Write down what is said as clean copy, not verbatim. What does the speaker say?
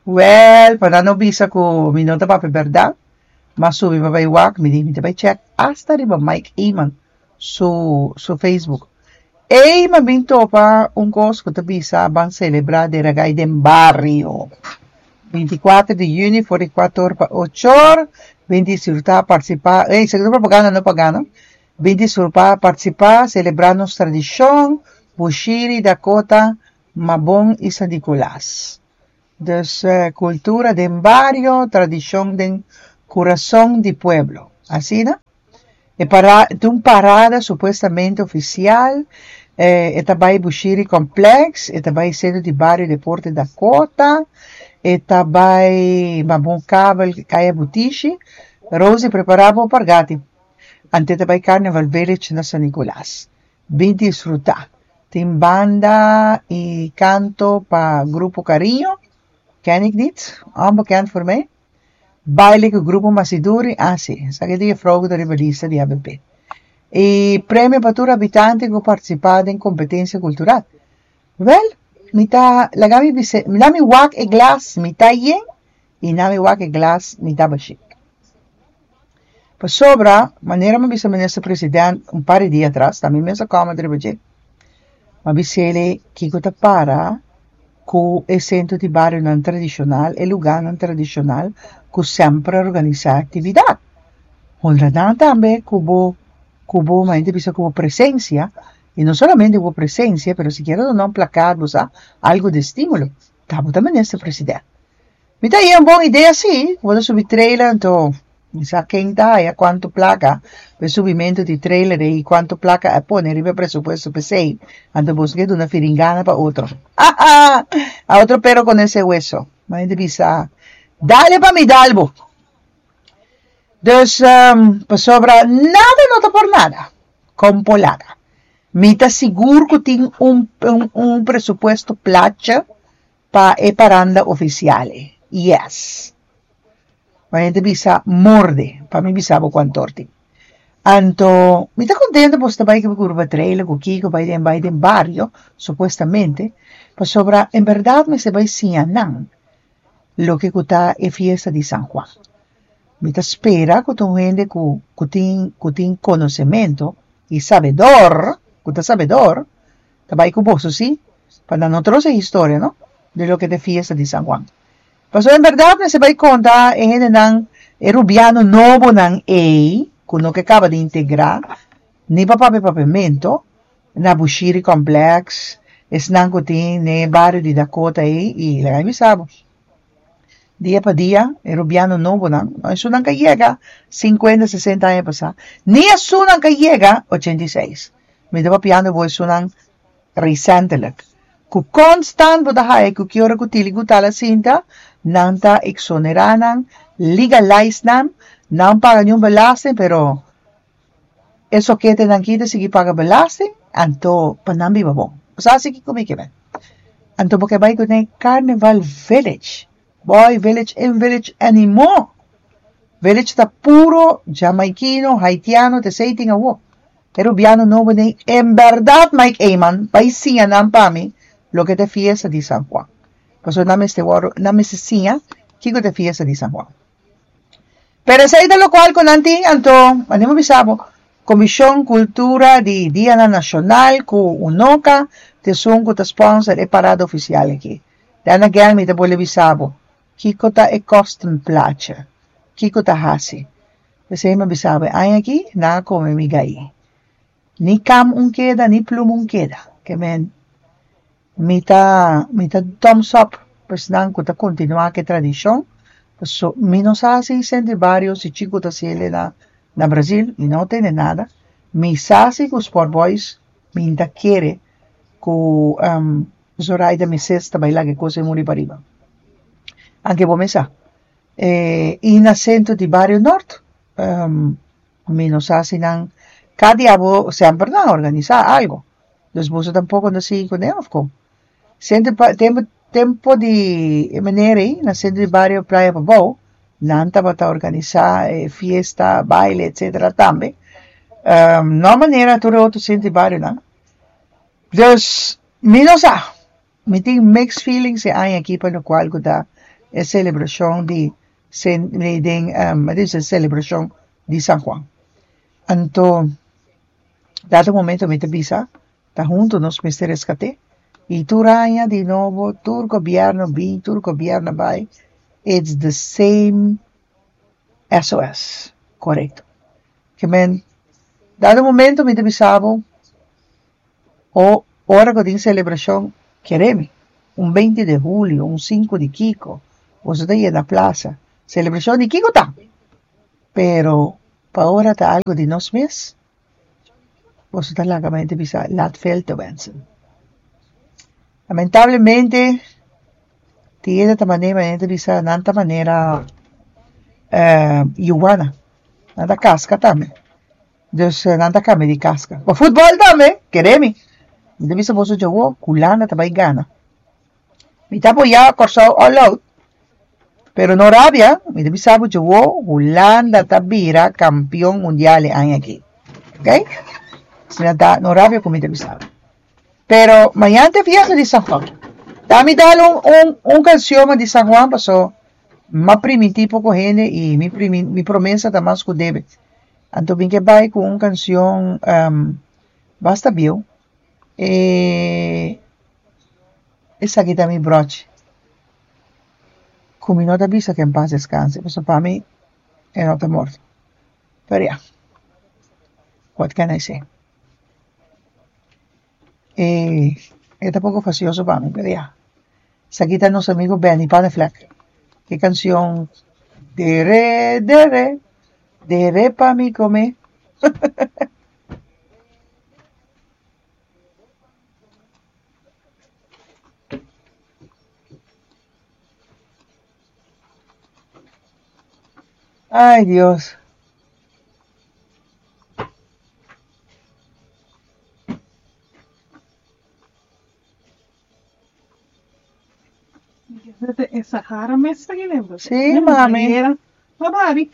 Wèl, pa nan no bisa ku mi no ta papia bèrdat, m'a subi pa bai wak, mi di mi ta bai chèk asta riba Mike Eman su su Facebook. Ey m'a bin topa un kos ku ta bisa ban selebrá Deragai den bario. Bintikuater di yüni for di kuater or pa ocho or, bin disfrutá, partisipá, ey esaki ta propaganda no pagá no, bin disfrutá, partisipá, selebrá nos tradishon, Bushiri, Dakota, Mabon i San Nicolas. Dus cultura den bario, tradicion den curason di pueblo. Asina? E para ta un parada supuestamente oficial, e ta bay Bushiri Complex, e ta bay Centro di Bario Deporte Dakota, e ta bay Mabon Kabel Kaya Butishi. Rosie prepara bo pargati. Ante ta bay Carnival Village na San Nicolas. Bin disfruta. Tin banda y canto pa Grupo Cariño, ken ik niet, onbekend voor mij. Baile cu Grupo Masiduri, ah si, esaki ta juffrouw cu ta riba lista di ABP. Y premio pa tur habitante cu participa den competencia cultural. Wel, mi ta laga mi bisa, na mi wak e glas mitá yen y na mi wak e glas mitá bashí. Pasobra, manera mi a bisa Minister President un par di dia atras, ta mi mes a comment riba dje, mi a bis'el kiko ta para ku e sentro di barionan tradishonal, e lugánan tradishonal ku semper a organisá aktividat. Honra nan tambe ku bo, ku bo, mi a bisa ku bo presensia, i no solamente ku bo presensia, pero sikiera duna un plakat, bo sa, algu di estímulo. Ta bo ta Minister President. Mi ta haña un bon idea sí, ku bo ta subi trailer anto mi sa ken ta haya kuantu plaka pa e subimentu di trailer ei i kuantu plaka a pone riba e presupuesto p'esei, anto boso ke duna firingana pa otro. Ha ha! A otro pero con ese hueso. Mi ta bisa, dale pa mi dal bo. Dus, pasobra nada no ta por nada, kon por laga. Mi ta sigur ku tin un un presupuesto placha Pa e paranda oficial e. Yes. Ma hende bisa morde, pa mi bisa bo cuanto or tin. Anto, mi ta contento boso ta bay cu curva trailer cu kico bay den bay den bario, supuestamente, pasobra en berdad mester bay siña nan loke cu ta e fiesta di San Juan. Mi ta spera cu ta un hende cu cu tin cu tin conocemento y sabedor, cu ta sabedor, Ta bai ku boso, sí, pa nan no trosa e historia, no, di loke ta e fiesta di San Juan. Pasobra en bèrdat mester bai konta e hendenan, e rubiano nobonan ei, ku no ke kaba di integrá, ni pa papia papiamentu, na Bushiri Complex, esnan ku tin den e bario di Dakota ei, i laga mi bisa bo, dia pa dia e rubiano nobonan, no esunnan ka yega sinkuenta, sesenta aña pasá, ni esunnan ka yega ochenta i seis. Mi ta papiando bo esunnan recentelijk. Ku constant bo ta haya ku ki ora ku Tili ku Tala sinta, nan ta exonerá nan, legalize nan, nan paga niun belasting, pero e soketenan aki ta sigui paga belasting, anto pa nan biba bon. Bo sa si kiko mi ke men? Anto bo ke bai ku den Carnival Village. Boy, village in village anymore. Village ta puro Jamaikino, Haitiano, ta esei tin awo. E rubiano nobo den en berdad Mike Eman bai siña nan pa mi loke ta e fiesta di San Juan. Pasobra nan mester wòrdu, nan mester siña kiko ta e fiesta di San Juan. Pero esei ta lokual ku nan tin, anto anima bisa bo, Komishon Kultura di Dianan Nashonal ku UNOCA ta esun ku ta sponsor e parada ofisial aki. Then again mi ta bolbe bisa bo, kiko ta e kostenplaatje? Kiko ta hasi? P'esei mi a bisa bo e aña aki nan a kome mi gai. Ni kam un keda ni pluma un keda. Ke men mi ta mi ta thumbs up pa esnan ku ta kontinuá ku e tradishon, paso mi no sa si Sentry Bario si Chico ta hasiel na na Brazil, mi no tende nada. Mi sa si ku Sport Boys mi ta kere ku Zoraida mi ses ta bai laga e kos ei muri pariba. Anke bo mes sa. E i na sentro di bario nort mi no sa si nan ka di abo semper nan a organisá algo. Dus boso tampoko no sigui kuné òf kon? Sentro pa tempu tempu di e manera ei na sentro di bario Playa Pabou nan tabata organisá e fiesta, baile etcetera tambe. No manera tur e otro sentro di barionan. Dus mi no sa. Mi tin mixed feelings e aña aki pa lokual ku ta e selebrashon di den e selebrashon di San Juan. Anto dado momento mi ta bisa ta hunto nos mester reskat'é i tur aña di nobo tur gobièrnu bin tur gobièrnu bai it's the same SOS korekto. Ke men dado momento mi ta bisa bo o ora ku tin selebrashon kere mi un beinti di hulio un sinku di kiko boso ta yena plasa selebrashon di kiko ta pero pa ora ta algu di nos mes boso ta laga mente bisa laat veel te wensen. Lamentablemente tin hende ta manera manera ta bisa nan ta manera yuwana nan ta kaska tambe dus nan ta kambia di kaska. Pa futbòl tambe kere mi mi ta bisa boso djawo Hulanda ta bai gana. Mi ta apoyá Kòrsou all out pero no rabia mi ta bisa bo djawo Hulanda ta bira kampion mundial e aña aki ok asina ta no rabia ku mi ta bisa bo pero mañan ta e fiesta di San Juan ta mi dal un un un kansion di San Juan paso m'a primintí poko hende i mi mi promesa ta mas ku debe anto mi ke bai ku un kansion basta bieu e esaki ta mi brochi ku mi no ta bisa ku en pas deskanse pasobra pa mi e no ta morto pero ya what can I say e e ta poko fastioso pa mi pero ya esaki ta nos amigo Benny Panneflek e kanshon dere dere dere pa mi kome. Ay, Dios. E Sahara mes ta kende. Sí, mami. Ma babi.